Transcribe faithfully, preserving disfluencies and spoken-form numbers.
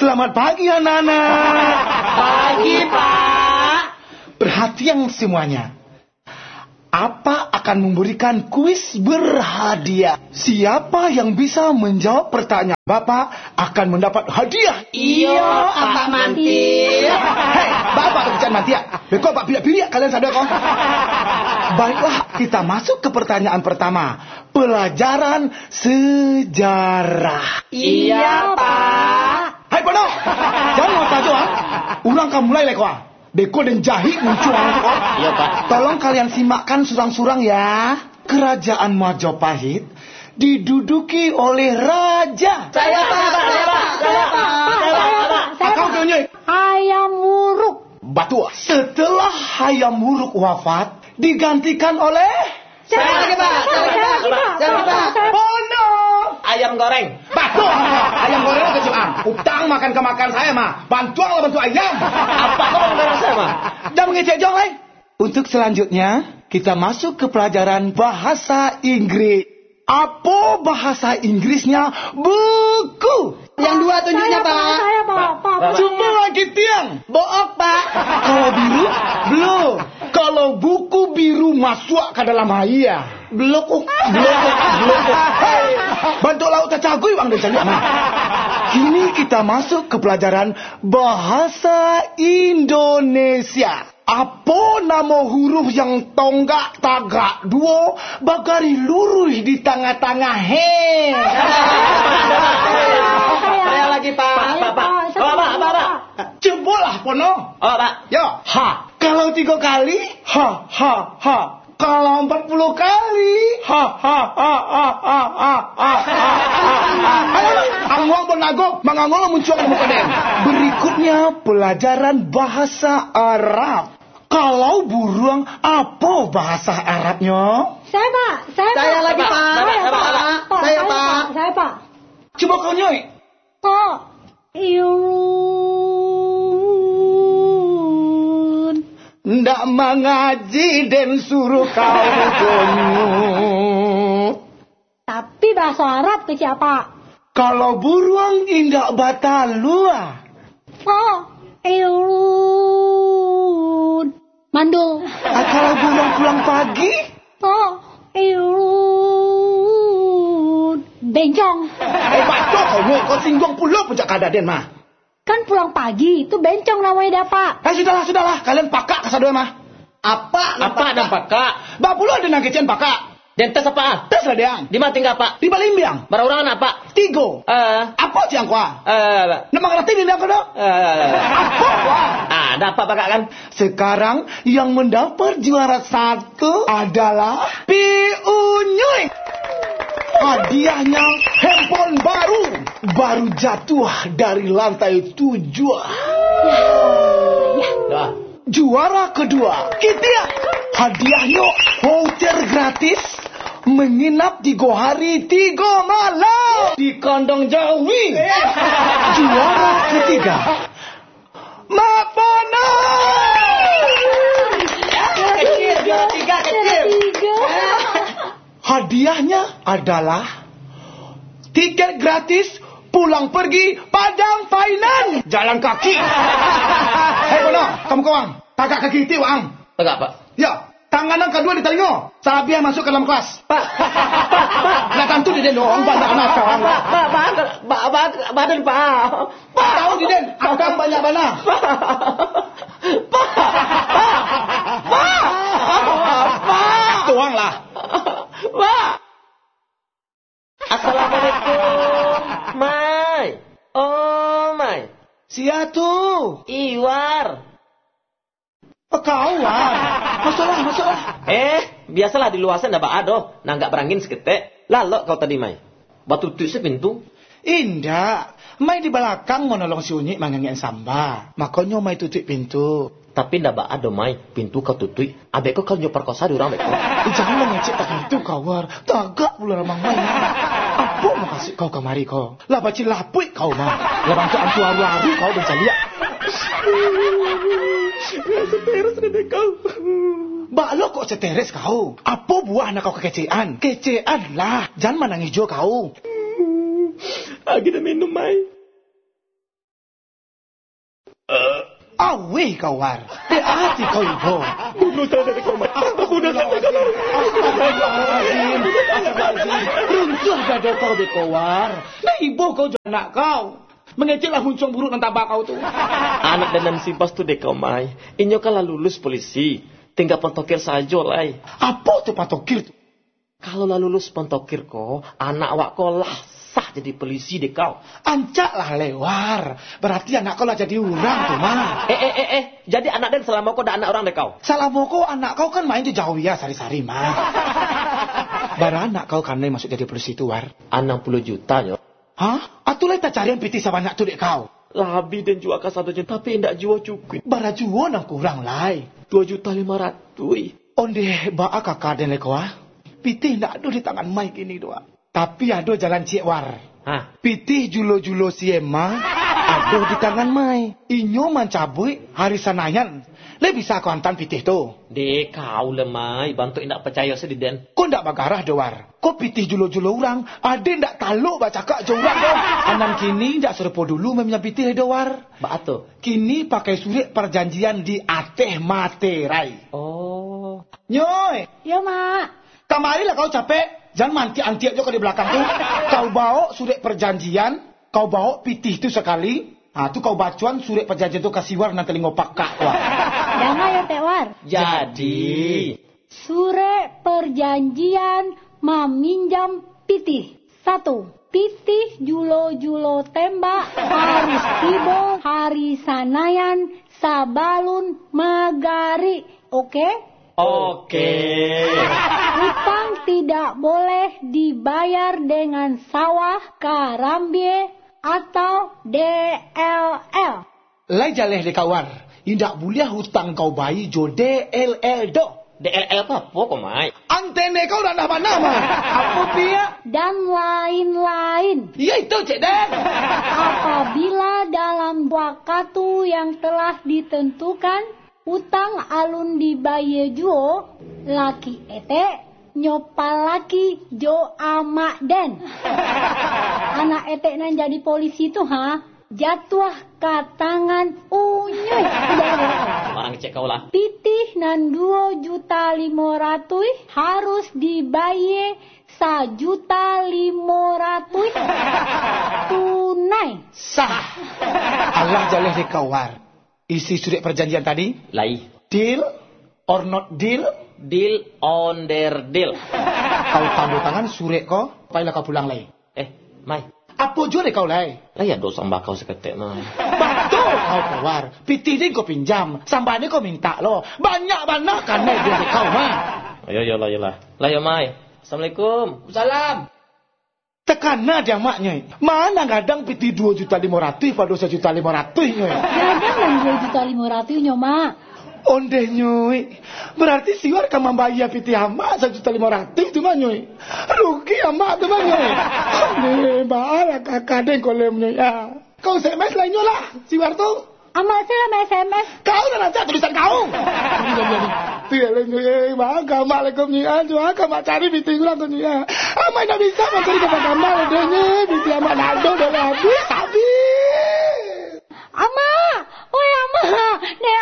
Selamat pagi, anak-anak. Pagi, Pak. Perhatian semuanya. Apa akan memberikan kuis berhadiah. Siapa yang bisa menjawab pertanyaan Bapak akan mendapat hadiah. Iyo, Apak Mantik. Hei, Bapak tu kecek mantik. Beko Apak piriak-piriak kalian sadonyo ko. Baiklah, kita masuk ke pertanyaan pertama. Pelajaran sejarah. Iya, Pak. Hai, Pono! Jangan tajo, ah. Urang ka mulai lai ko, ah. Beko den jahik muncuang tu, ah. Iya, Pak. Tolong kalian simakkan surang-surang, ya. Kerajaan Majapahit diduduki oleh raja. Saya, Pak. Saya, Pak. Saya, Pak. Saya, Pak. Saya, Pak. Akau tu, Nyoi. Hayam Wuruk. Batua. Setelah Hayam Wuruk wafat, digantikan oleh Saya lagi, Pak. Saya lagi, Pak. Saya lagi, Pak. Pono. Ayam goreng. Batua. Ayam goreng tu kecek ang. Utang makan ka makan saya mah. Bantuang lah bantuak ayam. Apa kau makan darah saya mah? Jan mangecek jo lai. Untuk selanjutnya, kita masuk ke pelajaran bahasa Inggris. Apo bahasa Inggrisnya buku? Yang dua tunjuknya, Pak. Saya, Pak. Saya, Pak. Pak, Pak. Cubo lagi tiang. Book, Pak. Kalau biru, blue. Kalau buku biru masuak ka dalam aia. Blokuk, blokuk, blokuk. Hei, bantuak lauk tacagui wang den caliak mah. Kini kita masuk ke pelajaran bahasa Indonesia. Apo namo huruf yang tonggak tagak duo, bagaris luruih di tangah-tangah, he? Saya lagi, Pak. Pak, Pak, Pak. Saya, Pak. Apa, apa, apa, apa? Cubolah, Pono. Oh, Pak. Yo. Ha. Kalau tigo kali, ha, ha, ha. Kalau empat puluh kali, ha, ha, ha. Ayo, ang muang pun nago, mangangolo muncuang di muko den. Berikutnya, pelajaran bahasa Arab. Kalau buruang, apo bahasa Arabnyo? Saya, Pak. Saya, Pak. Saya lagi, Pak. Saya, Pak. Pak, saya, Pak. Saya, Pak. Cubo kau, Nyoi. Pak. Iyun. Ndak mangaji den suruh kau, Nyoi. Tapi bahaso Arab kecek, Pak. Kalau buruang indak batalua. Fa, irun. Mandul. Ah, kalau buruang pulang pagi? Fa, irun. Bencong. Eh, batua kau, Nyoi. Kau singguang pulo puncak kadaden mah. Kan pulang pagi, tu bencong namonyo dah, Pak. Eh, sudahlah, sudahlah. Kalian pakak kasadonyo mah. Apak nan pakak. Apak nan pakak. Bapulo ado nan kecekan pakak. Den tes, Pak. Tes lah, Diang. Di ma tingga, Pak? Di Balimbiang. Bara urang anak, Pak? Tigo. Eh. Apo ciang kua? Eh. Nak mangarati ni, Diang, ko doh? Eh. Apo kua? Ah, ado apak pakak, kan? Sekarang yang mendapat juara satu adalah Pi Unyuik. Hadiahnya handphone baru, baru jatuh dari lantai tujuh. Dah. Juara kedua, Kitia. Hadiahnyo voucher gratis menginap tigo hari tigo malam di kandang jawi. Juara ketiga, Mak Pono! Kecil, juara tiga, kecil. Hadiahnya adalah tiket gratis pulang pergi Padang Finance. Jalan kaki. Hei, Pono, kamu kawang. Tagak kaki iti, Wang. Tagak, Pak. Ya, tangan nan kaduo di talingo. Salabiah masuk ka dalam kelas. Pak, Pak, Pak, Pak. Lah tantu di den doh, banyak anak kawang. Pak, Pak, Pak, Pak, Pak, Pak, Pak. Pak! Tahu di den, akang banyak bana. Pak! Pak! Pak! Pak! Tuang lah. Pak! Assalamualaikum, Mai. Oh, Mai. Sia tu? Iwar. Kau, Wan. Masuklah, masuklah. Eh, biasalah di lua sen ndak baa doh. Nanggak barangin saketek. Lalok kau tadi, Mai. Batutuik se pintu. Indak. Mai di balakang manolong si Unyik mangangek samba. Makonyo Mai tutuik pintu. Tapi ndak baa doh, Mai. Pintu kau tutuik. Abek ko kau nyo parkosa di urang, bek ko. Eh, jangan mangecek tak itu, kawar. Tagak pulo ramang Mai. Apo makasuik kau kamari ko? Lah bacilapuik kau mah. Lah bantuak antu aru-aru kau bancaliak. Stres dek kau. Baa lo kok stres kau? Apo buah nan kau kakecekan? Kecekan lah. Jan manangih jo kau. Agiah dah minum, Mai. Aweh kau, War. Dek ati kau ibo. Bunuh sajo dek kau, Mai. Bunuh sajo dek kau, Mai. Astagfirullahalazim. Astagfirullahalazim. Runtuah dado kau dek kau, War. Lah ibo kau jo anak kau. Mangeceklah muncuang buruak nan taba kau tu. Anak den nan si Bas tu dek kau, Mai. Inyo kan lah lulus polisi. Tingga pantokir sajo lai. Apo tu pantokir tu? Kalau lah lulus pantokir ko, anak awak ko lah sah jadi polisi dek kau. Ancak lah lai, War. Berarti anak kau lah jadi urang tu, Mai. Eh, eh, eh, eh. Jadi anak den salamo ko dak anak urang dek kau? Salamo ko anak kau kan main jo Jawia sari-sari, Mai. Bara anak kau kanai masuak jadi polisi tu, War? Anam puluah juta nyo. Hah? Atu lai tacarian pitih sabanyak tu dek kau? Labiah den jua kasadonyo, tapi indak juo cukuik. Bara juo nan kurang lai? Duo juta limo ratuih. Ondeh, baa kaka den lai ko, ah? Pitih indak ado di tangan Mai kini tu, ah. Tapi ado jalan ciek, War. Hah? Pitih julo-julo si Emma ado di tangan Mai. Inyo mancabuik Hari Sanayan. Lai bisa kau antaan pitih tu? Dek kau lah, Mai, bantuak indak pacayo se di den. Ko ndak bagarah doh, War. Ko pitih julo-julo urang, aden ndak talok bacakak jo urang doh. Anam kini ndak sarupo dulu maminjam pitih doh, War. Baa tu? Kini pakai surek parjanjian di ateh materai. Oh. Nyoi. Yo, Mak. Kamarilah kau capek, jan maantiak-antiak jo kau di balakang tu. Kau bawok surek parjanjian, kau bawok pitih tu sakali. Ha, tu kau bacoan surek parjanjian tu ka si War nan talingo pakak tu, ah. Danga yo, Tek War. Jadi. Surek parjanjian maminjam pitih. Satu, pitih julo-julo tembak harus tibo Hari Sanayan sabalun magarik. Oke? Oke. Utang tidak boleh dibayar dengan sawah, karambia, atau D L L. Lai jaleh dek kau, War. Indak buliah utang kau bayia jo D L L doh. D L L ko apo ko, Mai? Antene kau randah bana, Mai. Apo piak? Dan lain-lain. Iyo itu, Cek Den. Apabila dalam wakatu yang telah ditentukan, utang alun dibayia juo, laki etek nyo palaki jo amak den. Anak etek nan jadi polisi tu, ha, jatuah ka tangan unyuih. Urang kecek kau lah. Pitih nan duo juta limo ratuih harus dibayia sajuta limo ratuih tunai. Sah. Alah jaleh dek kau, War. Isi surek parjanjian tadi? Lai. Deal or not deal? Deal on the deal. Kau tando tangan surek ko, pailah kau pulang lai. Eh, Mai. Apo juo dek kau lai? Lai ado sambah kau saketek, Mai. Batua kau ko, War. Pitih den kau pinjam, sambah den kau mintak lo. Banyak bana kanai dek kau, Mai. Yo, yo lah, yo lah. Lah yo, Mai. Assalamualaikum. Salam. Takana di amak, Nyoi. Ma nan gadang pitih duo juta limo ratuih pado sajuta limo ratuih, Nyoi? Gadang nan duo juta limo ratuih nyo, Mak. Ondeh, Nyoi. Berarti si War ka mambayia pitih amak sajuta limo ratuih tu mah, Nyoi. Rugi amak tu mah, Nyoi. Ondeh, baa lah kaka den ko lai, Nyoi, ah. Kau S M S lah inyo lah, si War tu. Amak se lah ma-S M S. Kau lah rancak tulisan kau. Iyo, iyo, iyo. Tu yo lah, Nyoi, eh, baa ka amak lai ko, Nyoi, ah, jo a ka amak cari pitih urang ko, Nyoi, ah. Amak indak bisa mancari gambar-gambar deh, Nyoi, pitih amak ndak ado doh, lah abih, abih. Amak, oi Amak, dek